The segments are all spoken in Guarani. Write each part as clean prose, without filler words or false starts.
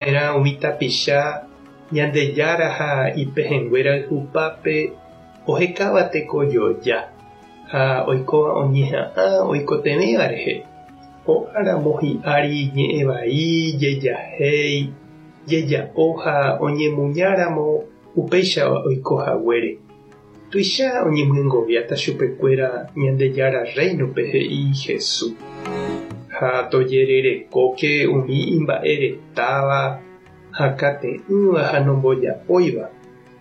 Va'erã umi tapicha Ñandejára ha ipehẽngue rayhupápe ohekáva tekojoja ha oikóva oñeha'ã oikotevẽva rehe, ho'áramo hi'ári ñe'ẽ vai, jejahéi, jeja'o ha oñemuñáramo upéicha oiko haguére. Tuicha oñemyengoviáta chupekuéra Ñandejára Rréinope he'i Jesús. Ha tojererekóke umi imba'e retáva, hakate'ỹva ha nomboja'óiva,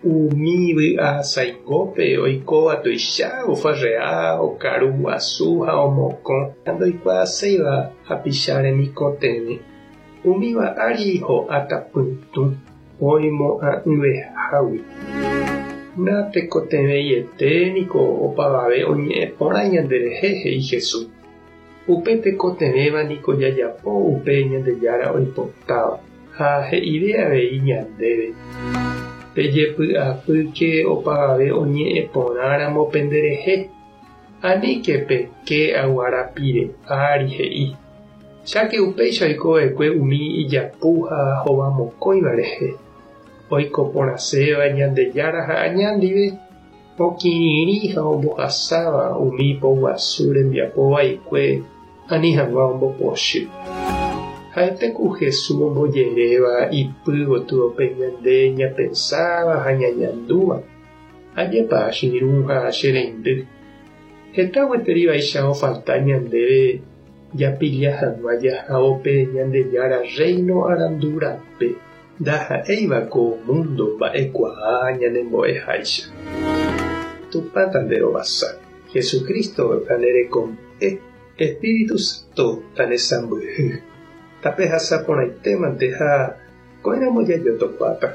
umi vy'a saingópe oikóva tuicha ofarrea, okaru guasu ha omokõ ha ndoikuaaséiva hapicha remikotevẽ. Umíva ári ho'áta pytũ. Oimo'ã'ỹvehágui. Natekotevẽiete niko opavave oñe'ẽ porã ñanderehe, he'i Jesús. Upe tekotevẽva niko jajapo upe Ñandejára oipotáva, ha he'ive avei ñandéve, Pejepy'apýke opavave oñe'ẽ porãramo penderehe. Aníke peke aguara pire ári, he'i. Cháke upéicha oiko va'ekue umi ijapu ha hovamokõiva rehe, oiko porãséva Ñandejára ha aña ndive, okirirĩ ha ombohasáva umi poguasu rembiapo vaikue ani hag̃ua ombopochy. Ha'ete ku Jesús ombojeréva ipy gotyo pe ñande ñapensáva ha ñañandúva. Ajépa che irũ ha che reindy. Heta gueteri vaicha ofalta ñandéve japilla hag̃ua jahávo pe Ñandejára Rréino arandu rape, ndaha'éiva ko múndo mba'ekuaa ñanembo'eháicha. Tupã tanderovasa, Jesucristo tanerekombo'e, Espíritu Santo tanesãmbyhy. Tapehasa porãitémante ha ko'ẽramo jajotopáta.